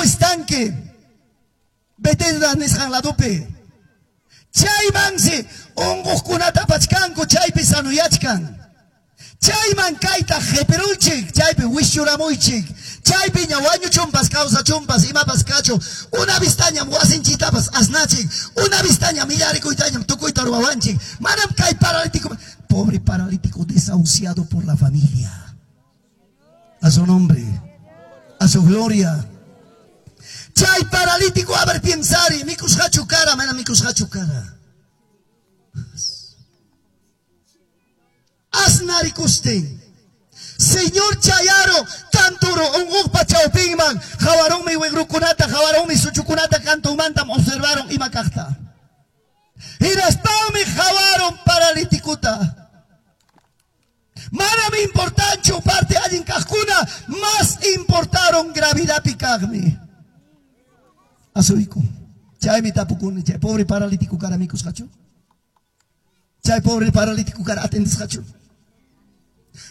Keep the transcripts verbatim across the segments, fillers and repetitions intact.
estanque. Betesda nisqan ladopi. Chaymansi unquqkunata apachkanku, chaypi sanuyachkan. Chayman kayta qipiruychik, chaypi wischuramuychik. Chaypiña wañuchunpas, kawsachunpas, imapas kachun. Una vistañam wasinchitapas asnachik. Una vistañam millarikuytañam tukuyta ruwawanchik. Manam kay paralítico, pobre paralítico desahuciado por la familia. A su nombre, a su gloria. Chay paralítico, a ver, piensari, mikusqachu kara, mana mikusqachu kara. Asnarikustin. Señor chayaro, tanturo, unquqpa chawpinman, hawarunmi wigrukunata, hawarunmi suchukunata, kantumantam observaron ima kaqta. Hinaspanmi hawarun paralítikuta. Manam importanchu parte allin kaqkuna, más importaron gravidadpi kaqmi. Asuyku. Chaymi tapukuni, chay pobre paralítico kara mikusqachu? Chay pobre paralítico kara atendisqachu?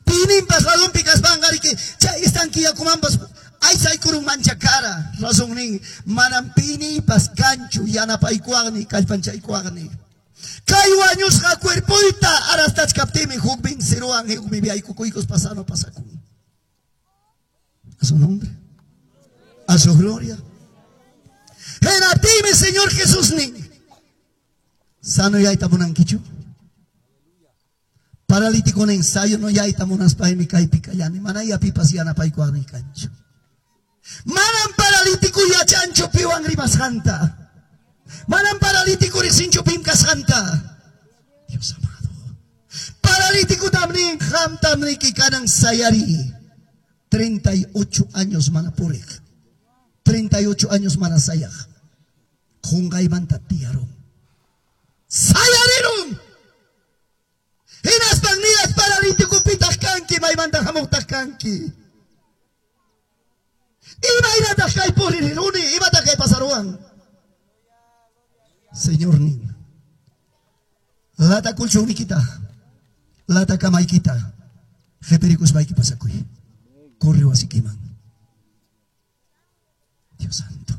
Pininpas ladunpi kaspanqariki, chay estanque yakumanpas aysaykurun mancha kara. Razón nin, manam pinipas kanchu yanapaykuwaqni, kallpanchaykuwaqni. Kay wañusqa cuerpoyta arastachkaptimi hukmin siruwan hukmi viaykukuykus pasano pasakun. A su nombre, a su gloria. Hinaptimi Señor Jesús nin, sanuyayta munankichu? Paralítico nin, sanuyayta munaspaymi kaypi kallani, mana yapipas yanapaykuwaqni kanchu. Manam paralítico yachanchu piwan rimasqanta. Manam paralítico riqsinchu pim kasqanta. Dios amado. Paralítico tamnin, qamtam niki kanan sayari. treinta y ocho años mana puriq. treinta y ocho años mana sayaq. Qunqaymanta tiyarun. Sayarirun. Hinaspan niyas paralítico pitaq kanki, maymanta hamuqtaq kanki. Imaynataq kay puririruni, imataq kay pasaruwan. Señor nin, lata kulchunnikita, lata kamaykita, qipirikuspayki pasakuy. Corre wasikiman. Dios santo.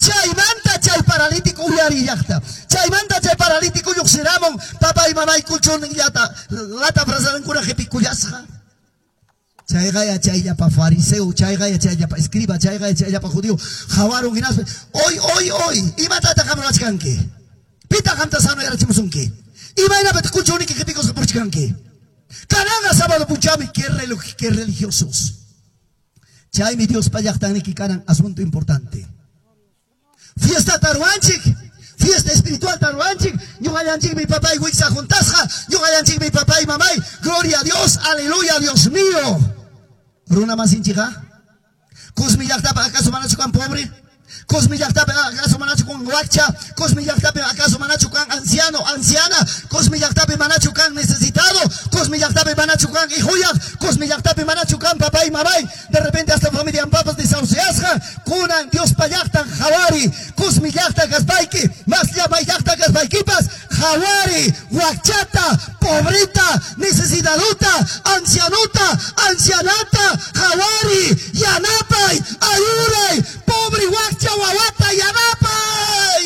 Chaymanta chay paralítico uyari llaqta. Chaymanta chay paralítico lluqsiramun, papay mamay kulchunillata, lata frazadankuna qipikullasqa. Chayqa yachayllapa fariseo, chayqa yachayllapa escriba, chayqa yachayllapa judío. Hawarun hinaspa, hoy, hoy, hoy, imatataq qam ruwachkanki? Pitaq qamta sanuyarachimusunki? Imaynapitaq kulchuniki qipikusqa purichkanki? Kananqa sábado punchawmi, qué, qué religiosos. Chaymi Diospa llaqtanniki kanan asunto importante. Fiesta taruanchik, fiesta espiritual taruanchik, ñuqallanchikmi papay wiksa juntasqa, ñuqallanchikmi papay mamay, gloria a Dios, aleluya, Dios mío. Runa masinchikqa, Cusmi llaqtapi acaso manachu kan pobre? Cusmi llaqtapi acaso manachu kan wakcha? Cusmi llaqtapi acaso manachu kan anciano, anciana? Cusmi llaqtapi manachu kan necesitado? Cusmi llaqtapi manachu kan hijuyaq? Cusmi llaqtapi manachu kan papay mamay? De repente hasta familia papas desahuciasqa, kunan Diospa llaqtan hawari, Cusmi llaqta kaspayki, mas llamay llaqta kaspaykipas, hawari, wakchata, pobrita, necesitaduta, ancianuta, ancianata, hawari, yanapay, ayuray, pobre wakcha wawata yanapay.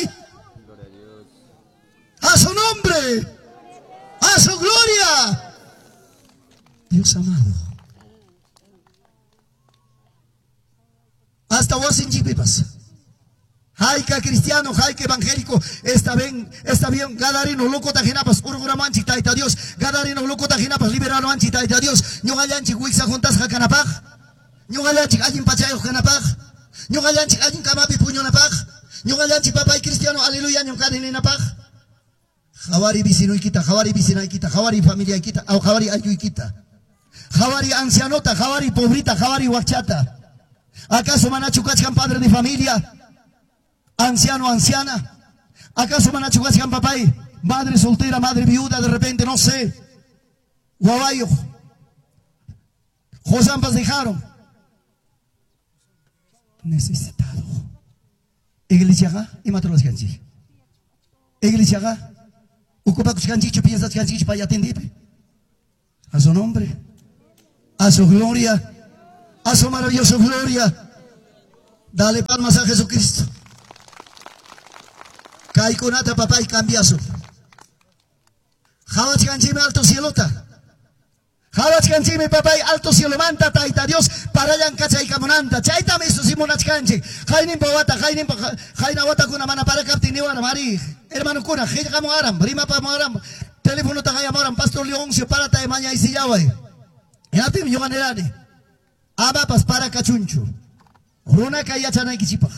A su nombre, a su gloria. Dios amado. Hasta wasinchikpipas. Hayka cristiano, hayka evangélico, está bien, está bien, gadarino, loco tajinapas, urguramanchik, taita Dios, gadarino, loco tajinapas, liberano anchi, taita Dios, ñuqallanchik wiksa juntasqa kanapaq, ñuqallanchik allin pachayuq kanapaq, ñuqallanchik allin kamapi puñunapaq, ñuqallanchik papay cristiano, aleluya, ñuqani ninapaq. Hawari vecinoykita, hawari vecinaykita, hawari familiaykita, aw hawari aylluykita, hawari ancianota, hawari pobrita, hawari wakchata. ¿Acaso manachu kachkan padre de familia? Anciano, anciana. ¿Acaso manachu kachkan papay? Madre soltera, madre viuda, de repente, no sé. Guabayo. Josampas dejaron. Necesitado. Iglesiaga, imatrulaskanchik. Iglesiaga, ocupakushkanchikchu, piensachkanchikchu, pay atendipe. A su nombre, a su gloria, a su maravillosa gloria. Dale palmas a Jesucristo. Kaykunata papay cambiasun. Qawachkanchikmi alto cielota. Qawachkanchikmi papay alto cielomanta Tayta Dios parallan kachaykamunanta. Chaytam isusimunachkanchik. Qayninpa wata, qayninpa qayna watakuna mana parakaptin niwaram ari. Hermanokuna, qillqamuwaram, rimapamuwaram, telefonota qayamuwaram, Pastor Leoncio parata mañaysillaway. Hinaptinmi ñuqa nirani. Amapas para kachunchu. Runaka yachanaykichikpaq.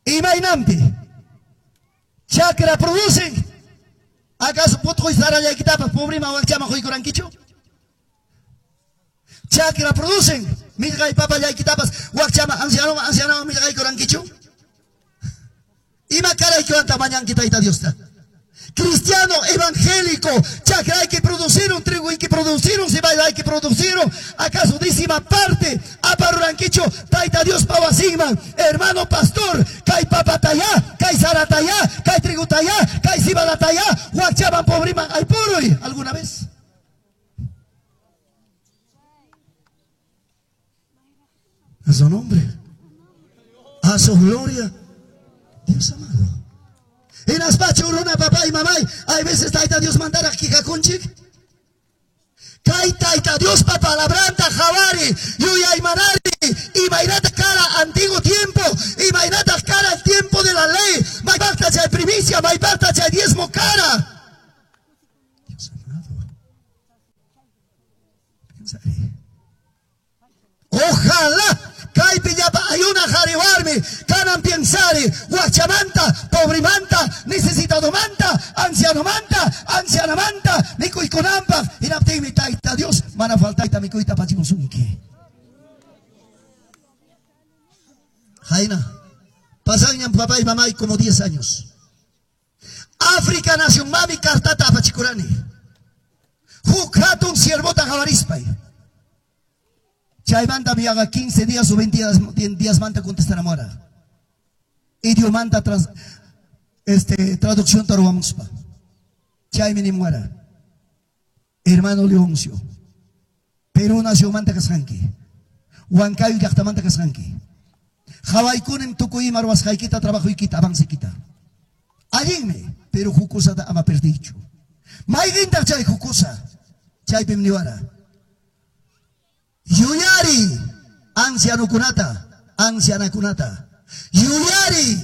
Imaynanpi chakra producen. ¿Acaso putqoy sarallaykitapas pobrema wakchaman quykurankichu? Chakra producen. Millqay papallaykitapas wakchaman ancianoman ancianoman millqaykurankichu? Ima karaykiwanta mañanki Tayta Diosta? Cristiano evangélico, chakra hay que producir un trigo hay que producir un cebada hay que producir un, acaso décima parte aparuranquicho Tayta Dios pawasigman, hermano pastor, kay papataya, kay sarataya, kay trigutaya, kay cibadataya, huachaban pobriman ay puruy, ¿alguna vez? A su nombre, a su gloria, Dios amado. En aspacho runa papá y mamá, hay veces Tayta Dios mandar aquí jakunchik. Kay Tayta Dios pa palabranta jawari, yuyay manari, imaynata cara antiguo tiempo, imaynata cara el tiempo de la ley, mayparta chay primicia, mayparta chay diezmo cara. Dios amado. Pensaré. Ojalá kaypi llapa ayuna qhariwarmi kanan piensari wakchamanta, pobrimanta, necesitadomanta, ancianomanta, ancianamanta, mikuykunanpaq hinaptinmi Tayta Dios mana faltayta mikuyta apachimusunki. Jaina, pasanñan papá y mamá y como diez años. África nación mami kartata apachikurani. Huk hatun siervota qhawarispay. Chaymanta mi haga quince días o veinte días, días manta contestaramora. Idiomanta trans, este, traducción taruamuspa. Chaymi nimuara. Hermano Leoncio. Perú nación manta kasqanki. Huancayo llaqtamanta kasqanki. Qhawaykunim tukuy ima ruwasqaykita, trabajoykita, avancekita. Allinmi, pero hukusata ama perdichu. Mayqintaq chay hukusa. Chaypim niwara. Yuyari ancianokunata, ancianakunata. Yuyari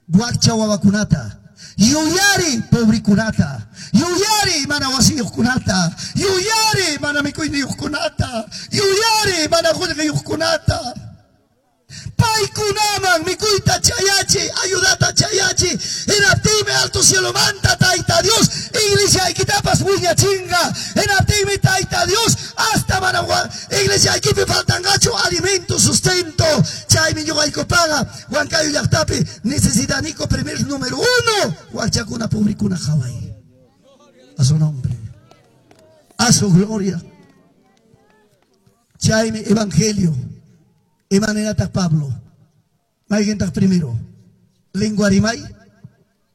wakcha wawakunata. Yuyari pobrikunata. Yuyari mana wasiyuqkunata. Yuyari mana mikuyniyuqkunata. Yuyari mana qullqiyuqkunata. Paykunaman mikuyta chayachi, ayudata chayachi. Hinaptinmi alto cielomanta Tayta Dios, iglesiaykitapas wiñachinqa. Hinaptinmi Tayta Dios, hasta mana iglesiaykipi faltanqachu alimento, sustento. Chaymi ñuqaykupaqa Huancayo llaqtapi necesitaniku primer número uno, wakchakuna pobrikuna qhaway. A su nombre, a su gloria. Chaymi evangelio. Imanenataq Pablo, mayqintaq primero, lengua rimay,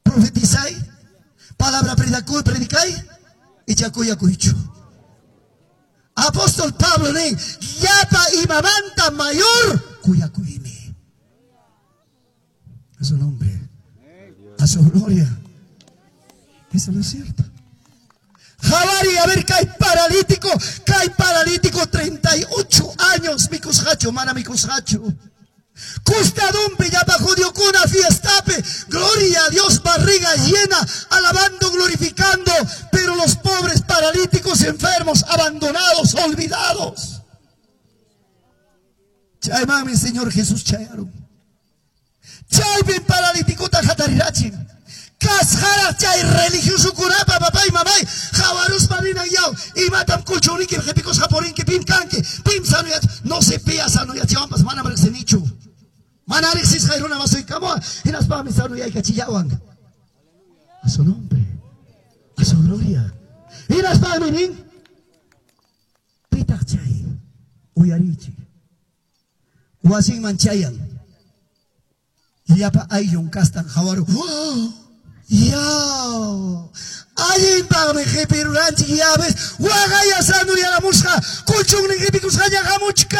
profetizay, palabra predicay, predicay, y chakuyakuychu. Apóstol Pablo nin, llapa imamanta mayor kuyakuymi. A su nombre, a su gloria. Eso no es cierto. Jabari, a ver, cae paralítico, cae paralítico, treinta y ocho años, mikushacho, mana mikushacho. Custadumpi, llapa judiocuna, fiestape, gloria a Dios, barriga llena, alabando, glorificando, pero los pobres paralíticos, enfermos, abandonados, olvidados. Chaymami, Señor Jesús, chayaron. Chaypin paralítico, tajatarirachi. Kasqaraq chay religioso kunapa papay mamay qhawaruspa ninan yaw imatam kuchurinki qhipikusqa purinki pim kanki pim sanuyach no se pia sanuyachiwanpas manam riqsinichu mana riqsisqay runa masuykamua hinaspami sanuyaykachillawan. A su nombre, a su gloria. Hinaspami nin pitaq chay uyarichik wasinman chayan llapa ayllun kastan qhawaru. ¡Oh! Ya, Allinpaqmi qipiruranchik, ya ves, waqaya sanuyaramusqa, colchonnin qipikusqaña hamuchkan.